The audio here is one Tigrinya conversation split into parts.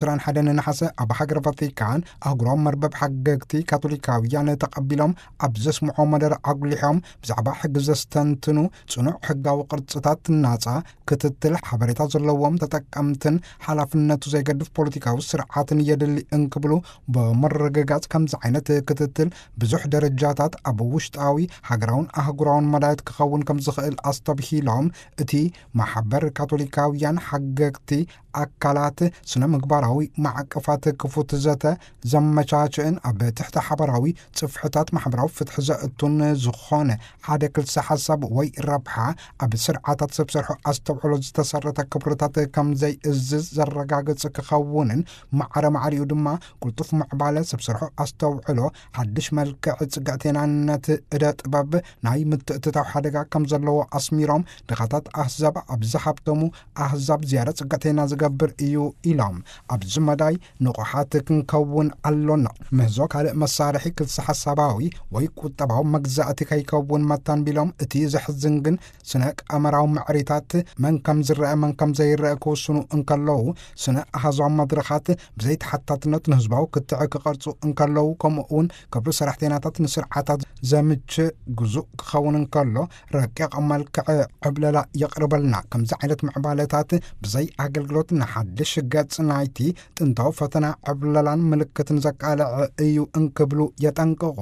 ዕስራን ሓደን ነሓሰ ኣብ ሃገር ቫቲካን ኣህጉራዊ መርበብ ሓገግቲ ካቶሊካውያን ተቐቢሎም ኣብ ዘስምዖ መደረ ኣጉሊሖም፣ ብዛዕባ ሕጊ ዘስተንትኑ ጽኑዕ ሕጋዊ ቅርጽታት፣ ናጻ ክትትል፣ ሓበሬታ ዘለዎም ተጠቀምትን ሓላፍነቱ ዘይገድፍ ፖለቲካዊ ስርዓትን የድሊ እንክብሉ ብምርግጋጽ፣ ከምዚ ዓይነት ክትትል ብዙሕ ደረጃታት ኣብ ውሽጣዊ ሃገራውን ኣህጉራውን መዳየት ክኸውን ከም ዝኽእል ኣስተብሂሎም፣ እቲ ማሕበር ካቶሊካውያን ሓገግቲ ኣካላት ስነ ምግባራዊ ማዕቀፋት ክፉት ዘተ ዘመቻችእን ኣብ ትሕቲ ሓባራዊ ጽፍሕታት ማሕበራዊ ፍትሒ ዘእቱን ዝኾነ ሓደ ክልሰ ሓሳብ ወይ ረብሓ ኣብ ስርዓታት ሰብ ሰርሖ ኣስተውዕሎ ዝተሰረተ ክብርታት ከም ዘይእዝዝ ዘረጋግጽ ክኸውንን፣ ማዕረ ማዕሪኡ ድማ ቅልጡፍ ምዕባለ ሰብ ሰርሖ ኣስተውዕሎ ሓድሽ መልክዕ ጽግዕቴናነት እደ ጥበብ ናይ ምትእትታው ሓደጋ ከም ዘለዎ ኣስሚሮም፣ ድኻታት ኣህዛብ ኣብ ዝሃብተሙ ኣህዛብ ዝያዳ ጽግዕቴና ዝገብር እዩ ኢሎም። ኣብዚ መዳይ ንቑሓት ክንከውን ኣሎና። ምህዞ ካልእ መሳርሒ ክልሰ ሓሳባዊ ወይ ቁጠባዊ መግዛእቲ ከይከውን መታን ቢሎም፣ እቲ ዘሕዝን ግን ስነ ቀመራዊ ምዕሪታት መን ከም ዝረአ መን ከም ዘይረአ ክውስኑ እንከለዉ፣ ስነ ኣሃዛዊ መድረኻት ብዘይተሓታትነት ንህዝባዊ ክትዕ ክቐርጹ እንከለዉ፣ ከምኡ እውን ክብሪ ሰራሕተኛታት ንስርዓታት ዘምች ግዙእ ክኸውን እንከሎ፣ ረቂቕ መልክዕ ዕብለላ የቕርበልና። ከምዚ ዓይነት ምዕባለታት ብዘይ ኣገልግሎት ንሓድሽ ገጽ ናይቲ ጥንታዊ ፈተና ዕብለላን ምልክትን ዘቃልዕ እዩ እንክብሉ የጠንቅቑ።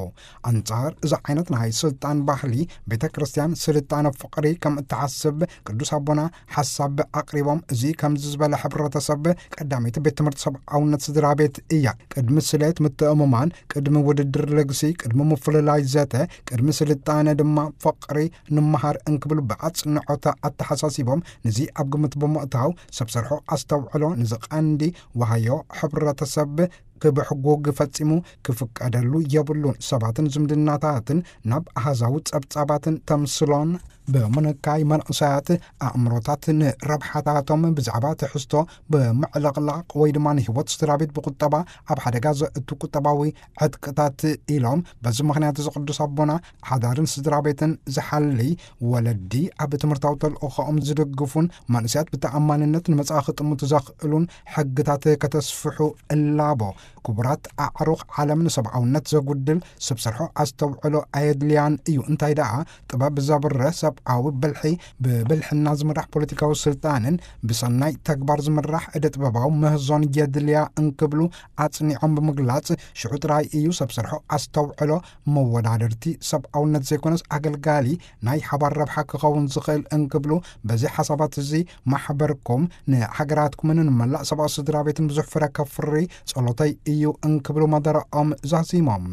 ኣንጻር እዚ ዓይነት ናይ ስልጣን ባህሊ፣ ቤተ ክርስቲያን ስልጣነ ፍቕሪ ከም እትሓስብ ቅዱስ ኣቦና ሓሳብ ኣቕሪቦም፣ እዚ ከምዚ ዝበለ ሕብረተሰብ ቀዳመይቲ ቤት ትምህርቲ ሰብኣውነት ስድራ ቤት እያ። ቅድሚ ስሌት ምትእምማን፣ ቅድሚ ውድድር ልግሲ፣ ቅድሚ ምፍልላይ ዘተ፣ ቅድሚ ስልጣነ ድማ ፍቕሪ ንምሃር እንክብሉ ብኣጽንዖት ኣተሓሳሲቦም፣ ነዚ ኣብ ግምት ብምእታው ሰብ ሰርሖ ኣስተውዕሎ ነዚ ቀንዲ ዋህዮ ሕብረተሰብ ክብሕጉግ ፈጺሙ ክፍቀደሉ የብሉን። ሰባትን ዝምድናታትን ናብ ኣሃዛዊ ጸብጻባትን ተምስሎን ብምንካይ፣ መንእሰያት ኣእምሮታት ንረብሓታቶም ብዛዕባ ትሕዝቶ ብምዕልቕላቕ ወይ ድማ ንህይወት ስድራ ቤት ብቁጠባ ኣብ ሓደጋ ዘእቱ ቁጠባዊ ዕጥቅታት ኢሎም፣ በዚ ምኽንያት እዚ ቅዱስ ኣቦና ሓዳርን ስድራ ቤትን ዝሓልይ፣ ወለዲ ኣብ ትምህርታዊ ተልእኾኦም ዝድግፉን መንእሰያት ብተኣማንነት ንመጻኢ ክጥምቱ ዘኽእሉን ሕግታት ከተስፍሑ እላቦ። ክቡራት ኣዕሩኽ ዓለም፣ ንሰብኣውነት ዘጉድል ሰብ ሰርሖ ኣስተውዕሎ ኣየድልያን እዩ። እንታይ ደኣ ጥበብ ዘብርህ ሰብኣዊ ብልሒ ብብልሕና ዝምራሕ ፖለቲካዊ ስልጣንን ብሰናይ ተግባር ዝምራሕ እደ ጥበባዊ ምህዞን የድልያ እንክብሉ ኣጽኒዖም ብምግላጽ፣ ሽዑ ጥራይ እዩ ሰብ ሰርሖ ኣስተውዕሎ መወዳደርቲ ሰብኣውነት ዘይኮነስ ኣገልጋሊ ናይ ሓባር ረብሓ ክኸውን ዝኽእል እንክብሉ፣ በዚ ሓሳባት እዚ ማሕበርኩም ንሃገራትኩምን ንመላእ ሰብኣዊ ስድራ ቤትን ብዙሕ ፍረ ከፍሪ ጸሎተይ እዩ እንክብሉ መደረኦም ዛዚሞም።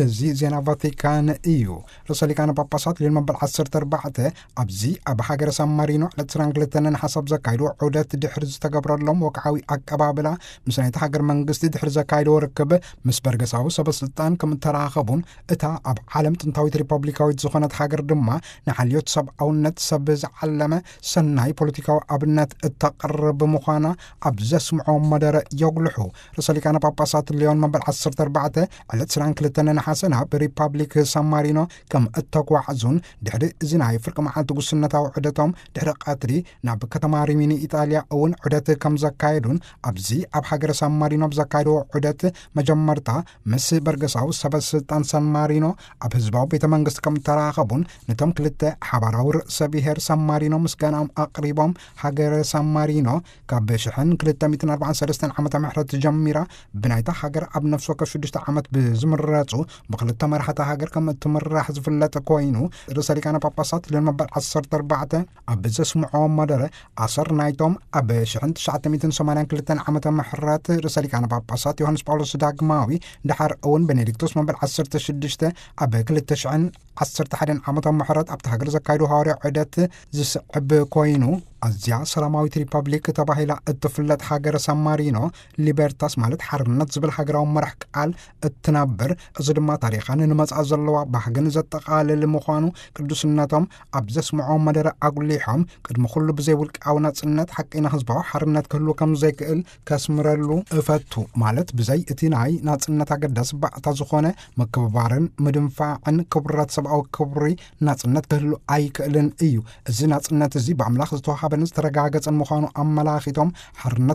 እዚ ዜና ቫቲካን እዩ። ርእሰ ሊቃነ ጳጳሳት ሊዮን መበል ዓሰርተ ኣርባዕተ ኣብዚ ኣብ ሃገረ ሳን ማሪኖ ዕለት ዕስራን ክልተን ነሓሰ ዘካይድዎ ዑደት ድሕሪ ዝተገብረሎም ወግዓዊ ኣቀባብላ፣ ምስ ናይቲ ሃገር መንግስቲ ድሕሪ ዘካይድዎ ርክብ፣ ምስ በርገሳዊ ሰበ ስልጣን ከም እተራኸቡን፣ እታ ኣብ ዓለም ጥንታዊት ሪፐብሊካዊት ዝኾነት ሃገር ድማ ንሓልዮት ሰብኣውነት ሰብ ዝዓለመ ሰናይ ፖለቲካዊ ኣብነት እተቕርብ ምዃና ኣብ ዘስምዖ መደረ የጉልሑ። ርእሰ ሊቃነ ጳጳሳት ሊዮን መበል ዓሰርተ ኣርባዕተ ዕለት ዕስራን ክልተን ነሓሰ ናብ ሪፐብሊክ ሳን ማሪኖ ከም እተጓዕዙን፣ ድሕሪ እዚ ናይ ፍርቂ መዓልቲ ጉስነታዊ ዑደቶም ድሕሪ ቀትሪ ናብ ከተማ ሪሚኒ ኢጣልያ እውን ዑደት ከም ዘካየዱን፣ ኣብዚ ኣብ ሃገረ ሳን ማሪኖ ብዘካየድዎ ዑደት መጀመርታ ምስ በርገሳዊ ሰበ ስልጣን ሳን ማሪኖ ኣብ ህዝባዊ ቤተ መንግስቲ ከም እተራኸቡን፣ ነቶም ክልተ ሓባራዊ ርእሰ ብሔር ሳን ማሪኖ ምስጋናኦም ኣቕሪቦም፣ ሃገረ ሳን ማሪኖ ካብ ሽሕን ክልተ ሚእትን ኣርባዓን ሰለስተን ዓመተ ምሕረት ጀሚራ ብናይታ ሃገር ኣብ ነፍሲ ወከፍ ሽዱሽተ ዓመት ብዝምረጹ ብክልተ መራሕቲ ሃገር ከም እትምራሕ ዝፍለጥ ኮይኑ፣ ርእሰ ሊቃነ ጳጳሳት ሊዮን መበል ዓሰርተ ኣርባዕተ ኣብ ዘስምዖ መደረ፣ ኣሰር ናይቶም ኣብ ሽሕን ትሽዓተ ሚእትን ሰማንያን ክልተን ዓመተ ምሕረት ርእሰ ሊቃነ ጳጳሳት ዮሃንስ ጳውሎስ ዳግማዊ፣ ድሓር እውን ቤኔዲክቶስ መበል ዓሰርተ ሽዱሽተ ኣብ ክልተ ሽሕን ዓሰርተ ሓደን ዓመተ ምሕረት ኣብቲ ሃገር ዘካየዱ ሃዋርያዊ ዑደት ዝስዕብ ኮይኑ፣ ኣዝያ ሰላማዊት ሪፐብሊክ ተባሂላ እትፍለጥ ሃገረ ሳን ማሪኖ፣ ሊበርታስ ማለት ሓርነት ዝብል ሃገራዊ መራሕ ቃል እትነብር፣ እዚ ድማ ታሪኻን ንመጻኢ ዘለዋ ባህግን ዘጠቓልል ምዃኑ ቅዱስነቶም ኣብ ዘስምዖ መደረ ኣጉሊሖም፣ ቅድሚ ኩሉ ብዘይ ውልቃዊ ናጽነት ሓቀይና ህዝባዊ ሓርነት ክህሉ ከም ዘይክእል ከስምረሉ እፈቱ። ማለት ብዘይ እቲ ናይ ናጽነት ኣገዳሲ ባእታ ዝኾነ ምክብባርን ምድንፋዕን ክቡራት ሰብኣዊ ክብሪ ናጽነት ክህሉ ኣይክእልን እዩ። እዚ ናጽነት እዚ ብኣምላኽ ዝተዋሃበ ዝተረጋገጸን ምዃኑ ኣመላኺቶም፣ ሓርነት